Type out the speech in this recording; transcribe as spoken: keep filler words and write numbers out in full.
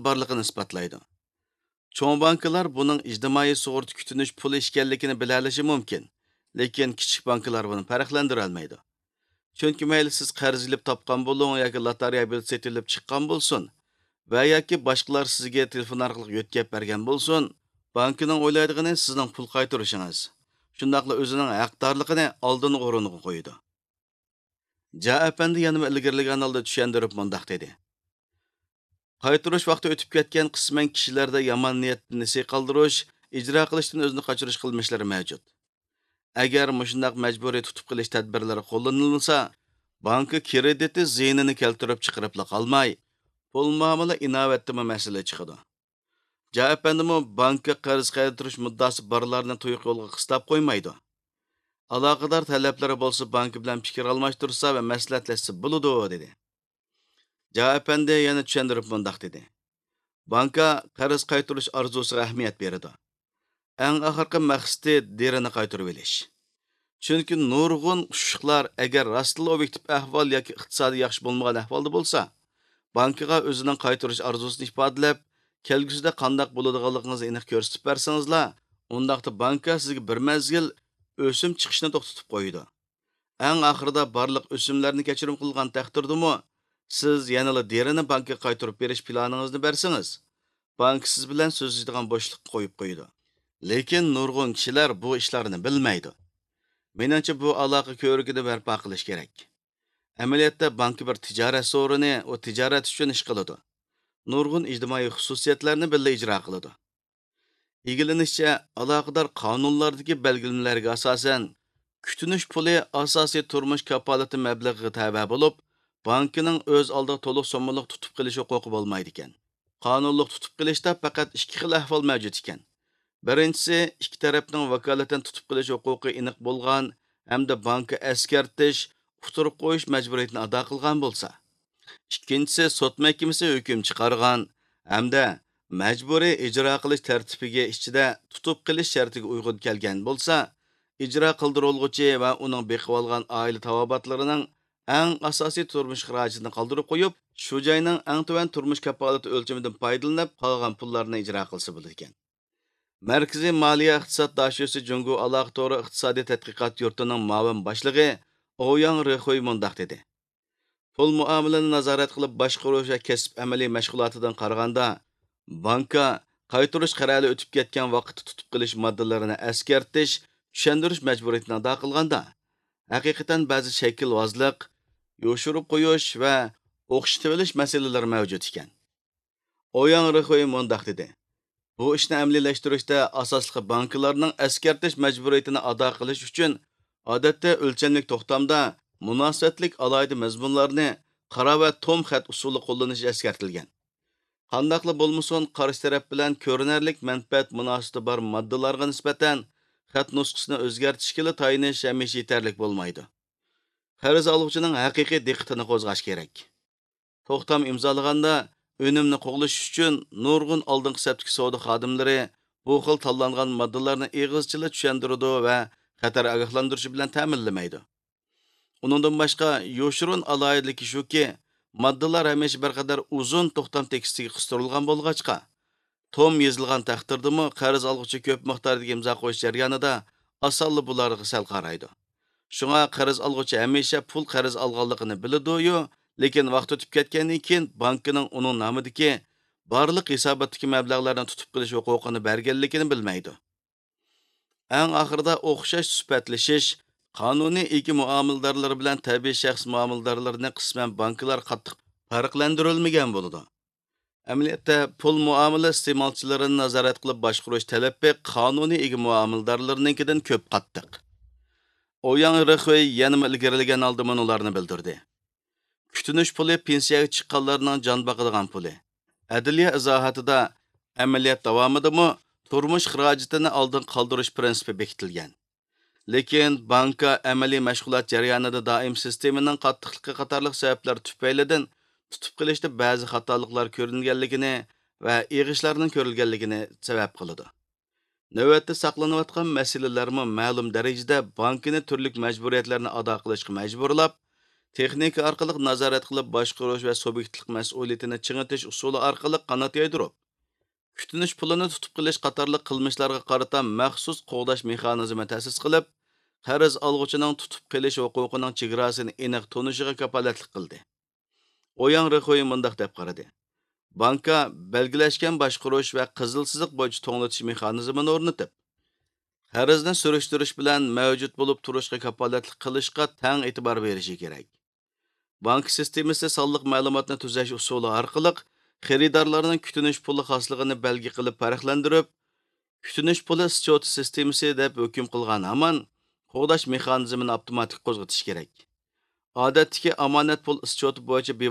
بارلىقىنى ئىسپاتلايدۇ. چوڭ بانكىلار بۇنىڭ ئىجتىمائىي سۇغۇرتا كۈتۈنۈش پۇلى ئىكەنلىكىنى بىلەلىشى مۇمكىن، لېكىن كىچىك بانكىلار بۇنى پەرقلەندۈرەلمەيدۇ. چۈنكى مەيلى سىز قەرز ئېلىپ تاپقان بولۇڭ ياكى لاتارىيە بېلىتى سېتىۋېلىپ چىققان بولسۇن ۋە ياكى باشقىلار سىزگە تېلېفون ئارقىلىق يۆتكەپ بەرگەن بولسۇن، بانكىنىڭ ئويلايدىغىنى سىزنىڭ پۇل قايتۇرۇشىڭىز، شۇنداقلا ئۆزىنىڭ ھەقدارلىقىنى ئالدىنقى ئورۇنغا قويىدۇ. جا ئەپەندى يەنىمۇ ئىلگىرىلىگەن ھالدا چۈشەندۈرۈپ مۇنداق دېدى: قايتۇرۇش ۋاقتى ئۆتۈپ كەتكەن، قىسمەن كىشىلەردە يامان نىيەتتىن نېسى قالدۇرۇش، ئىجرا قىلىشتىن ئۆزىنى قاچۇرۇش قىلمىشلىرى مەۋجۇت. ئەگەر مۇشۇنداق مەجبۇرىي تۇتۇپ قېلىش تەدبىرلىرى قوللىنىلمىسا، بانكا كىرېدىتى زىيىنىنى كەلتۈرۈپ چىقىرىپلا قالماي، پۇل مۇئامىلە ئىناۋەتتىمۇ مەسىلە چىقىدۇ. جا ئەپەندىمۇ بانكا قەرز قايتۇرۇش مۇددىسى بارلارنى تۇيۇق يولغا قىستاپ قويمايدۇ. ئالاقىدار تەلەپلىرى بولسا بانكا بىلەن پىكىر ئالماشتۇرسا ۋە مەسلىھەتلەشسە بولىدۇ، دېدى. جا ئەپەندى يەنە چۈشەندۈرۈپ مۇنداق دېدى: بانكا قەرز قايتۇرۇش ئارزۇسىغا ئەھمىيەت بېرىدۇ. ئەڭ ئاخىرقى مەقسىتى دېرىنى قايتۇرۇۋېلىش. چۈنكى نۇرغۇن ئۇششۇقلار ئەگەر راستلا ئوبيېكتىپ ئەھۋال ياكى ئىقتىسادى ياخشى بولمىغان ئەھۋالدا بولسا، بانكىغا ئۆزىنىڭ قايتۇرۇش ئارزۇسىنى ئىپادىلەپ، كەلگۈسىدە قانداق بولىدىغانلىقىڭىزنى ئېنىق كۆرسىتىپ بەرسىڭىزلا، ئۇنداقتا بانكا سىزگە بىر مەزگىل ئۆسۈم چىقىشنى توختىتىپ قويىدۇ. ئەڭ ئاخىرىدا بارلىق ئۆسۈملەرنى كەچۈرۈم قىلغان تەقدىردىمۇ، سىز يەنىلا دېرىنى بانكىغا قايتۇرۇپ بېرىش پىلانىڭىزنى بەرسىڭىز، بانكا سىز بىلەن سۆزلىشىدىغان بوشلۇققا قويۇپ قويىدۇ. لېكىن نۇرغۇن كىشىلەر بۇ ئىشلارنى بىلمەيدۇ. مېنىڭچە، بۇ ئالاقە كۆۋرۈكىنى بەرپا قىلىش كېرەك. ئەمەلىيەتتە بانكا بىر تىجارەت سورۇنى، ئۇ تىجارەت ئۈچۈن ئىش قىلىدۇ. نۇرغۇن ئىجتىمائىي خۇسۇسىيەتلەرنى بىللە ئىجرا قىلىدۇ. ئىگىلىنىشىچە، ئالاقىدار قانۇنلاردىكى بەلگىلىمىلەرگە ئاساسەن، كۈتۈنۈش پۇلى ئاساسىي تۇرمۇش كاپالىتى مەبلىغىگە تەۋە بولۇپ، بانكىنىڭ ئۆز ئالدىغا تولۇق سوممىلىق تۇتۇپ قېلىش ھوقۇقى بولمايدىكەن. قانۇنلۇق تۇتۇپ قېلىشتا پەقەت ئىككى خىل ئەھۋال مەۋجۇت ئىكەن. بىرىنچىسى، ئىككى تەرەپنىڭ ۋاكالىتەن تۇتۇپ قېلىش ھوقۇقى ئېنىق بولغان ھەمدە بانكا ئەسكەرتىش، ئۇتتۇرغا قويۇش مەجبۇرىيىتىنى ئادا قىلغان بولسا. ئىككىنچىسى، سوت مەھكىمىسى ھۆكۈم چىقارغان ھەمدە مەجبۇرىي ئىجرا قىلىش تەرتىپىگە ئىچىدە تۇتۇپ قېلىش شەرتىگە ئۇيغۇن كەلگەن بولسا، ئىجرا قىلدۇرۇلغۇچى ۋە ئۇنىڭ بېقىۋالغان ئائىلە تاۋابىئاتلىرىنىڭ ئەڭ ئاساسىي تۇرمۇش خىراجىتىنى قالدۇرۇپ قويۇپ، شۇ جاينىڭ ئەڭ تۆۋەن تۇرمۇش كاپالىتى ئۆلچىمىدىن پايدىلىنىپ، قالغان پۇللارنى ئىجرا قىلسا بولىدىكەن. مەركىزىي مالىيە ئىقتىساد داشۆسى جۇڭگو ئالاقە تورى ئىقتىسادىي تەتقىقات يۇرتىنىڭ مۇئاۋىن باشلىقى ئوياڭ رېخۇي مۇنداق دېدى: پۇل مۇئامىلىنى نازارەت قىلىپ باشقۇرۇش ۋە كەسىپ ئەمەلىي مەشغۇلاتىدىن قارىغاندا، بانكا قايتۇرۇش قەرەلى ئۆتۈپ كەتكەن ۋاقىتتا تۇتۇپ قېلىش ماددىلىرىنى ئەسكەرتىش، چۈشەندۈرۈش مەجبۇرىيىتىنى ئادا قىلغاندا، ھەقىقەتەن بەزى شەكىلۋازلىق، يوشۇرۇپ قويۇش ۋە ئوخشىتىۋېلىش مەسىلىلىرى مەۋجۇت ئىكەن. ئوياڭ رېخۇي مۇنداق دېدى: بۇ ئىشنى ئەمەلىيلەشتۈرۈشتە ئاساسلىقى بانكىلارنىڭ ئەسكەرتىش مەجبۇرىيىتىنى ئادا قىلىش ئۈچۈن، ئادەتتە ئۆلچەملىك توختامدا مۇناسىۋەتلىك ئالاھىدە مەزمۇنلارنى قارا ۋە توم خەت ئۇسۇلى قوللىنىش ئەسكەرتىلگەن. قانداقلا بولمىسۇن، قارشى تەرەپ بىلەن كۆرۈنەرلىك مەنپەئەت مۇناسىۋىتى بار ماددىلارغا نىسبەتەن خەت نۇسخىسىنى ئۆزگەرتىشكىلا تايىنىش ھەمىشە يېتەرلىك بولمايدۇ. قەرز ئالغۇچىنىڭ ھەقىقىي دىققىتىنى قوزغاش كېرەك. توختام ئىمزالىغاندا، ئۈنۈمنى قوغلىشىش ئۈچۈن نۇرغۇن ئالدىنقى سەپتىكى سودا خادىملىرى بۇ خىل تاللانغان ماددىلارنى ئېغىزچىلا چۈشەندۈرىدۇ ۋە خەتەر ئاگاھلاندۇرۇشى بىلەن تەمىنلىمەيدۇ. ئۇنىڭدىن باشقا، يوشۇرۇن ئالاھىدىلىكى شۇكى، ماددىلار ھەمىشە بىر قەدەر ئۇزۇن توختام تېكىستىگە قىستۇرۇلغان بولغاچقا، توم يېزىلغان تەقدىردىمۇ، قەرز ئالغۇچى كۆپ مىقداردىكى ئىمزا قويۇش جەريانىدا ئاسانلا بۇلارغا سەل قارايدۇ. شۇڭا قەرز ئالغۇچى ھەمىشە پۇل قەرز ئالغانلىقىنى بىلىدۇ-يۇ، لېكىن ۋاقىت ئۆتۈپ كەتكەندىن كېيىن بانكىنىڭ ئۇنىڭ نامىدىكى بارلىق ھېساباتتىكى مەبلەغلەرنى تۇتۇپ قېلىش ھوقۇقىنى بەرگەنلىكىنى بىلمەيدۇ. ئەڭ ئاخىرىدا ئوخشاش سۈپەتلىشىش، قانۇنىي ئىگە مۇئامىلىدارلىرى بىلەن تەبىئىي شەخس مۇئامىلىدارلىرىنى قىسمەن بانكىلار قاتتىق پەرقلەندۈرۈلمىگەن بولىدۇ. ئەمەلىيەتتە، پۇل مۇئامىلە ئىستېمالچىلىرىنى نازارەت قىلىپ باشقۇرۇش تەلىپى قانۇنىي ئىگە مۇئامىلىدارلىرىنىڭكىدىن كۆپ قاتتىق. ئوياڭ رېخۇي يەنىمۇ ئىلگىرىلىگەن ھالدا مۇنۇلارنى بىلدۈردى: كۈتۈنۈش پۇلى پېنسىيەگە چىققانلارنىڭ جان باقىدىغان پۇلى. ئەدلىيە ئىزاھاتىدا، ئەمەلىيەت داۋامىدىمۇ تۇرمۇش خىراجىتىنى ئالدىن قالدۇرۇش پىرىنسىپى بېكىتىلگەن. لېكىن بانكا ئەمەلىي مەشغۇلات جەريانىدا دائىم سىستېمىنىڭ قاتتىقلىقى قاتارلىق سەۋەبلەر تۈپەيلىدىن تۇتۇپ قېلىشتا بەزى خاتالىقلار كۆرۈنگەنلىكىنى ۋە ئېغىشلارنىڭ كۆرۈلگەنلىكىنى سەۋەب قىلىدۇ. نۆۋەتتە ساقلىنىۋاتقان مەسىلىلەرمۇ مەلۇم دەرىجىدە بانكىنى تۈرلۈك مەجبۇرىيەتلەرنى ئادا قىلىشقا مەجبۇرلاپ، تېخنىكا ئارقىلىق نازارەت قىلىپ باشقۇرۇش ۋە سۇبيېكتلىق مەسئۇلىيىتىنى چىڭىتىش ئۇسۇلى ئارقىلىق قانات يايدۇرۇپ، كۈتۈنۈش پۇلىنى تۇتۇپ قېلىش قاتارلىق قىلمىشلارغا قارىتا مەخسۇس قوغداش مېخانىزمى تەسىس قىلىپ، قەرز ئالغۇچىنىڭ تۇتۇپ قېلىش ھوقۇقىنىڭ چېگراسىنى ئېنىق تونۇشىغا كاپالەتلىك قىلدى. ئوياڭ رېخۇي مۇنداق دەپ قارىدى: بانكا بەلگىلەشكەن باشقۇرۇش ۋە قىزىل سىزىق بويىچە توڭلىتىش مېخانىزمىنى ئورنىتىپ، قەرزنى سۈرۈشتۈرۈش بىلەن مەۋجۇت بولۇپ تۇرۇشقا كاپالەتلىك قىلىشقا تەڭ ئېتىبار بېرىشى كېرەك. بانكا سىستېمىسى سانلىق مەلۇماتنى تۈزەش ئۇسۇلى ئارقىلىق خېرىدارلارنىڭ كۈتۈنۈش پۇلى خاسلىقىنى بەلگە قىلىپ پەرقلەندۈرۈپ، كۈتۈنۈش پۇلى سچوتى سىستېمىسى دەپ ھۆكۈم قىلغان ھامان، قوغداش مېخانىزمىنى ئاپتوماتىك قوزغىتىش كېرەك. ئادەتتىكى ئامانەت پۇل سچوتى بويىچە بىۋاسىتە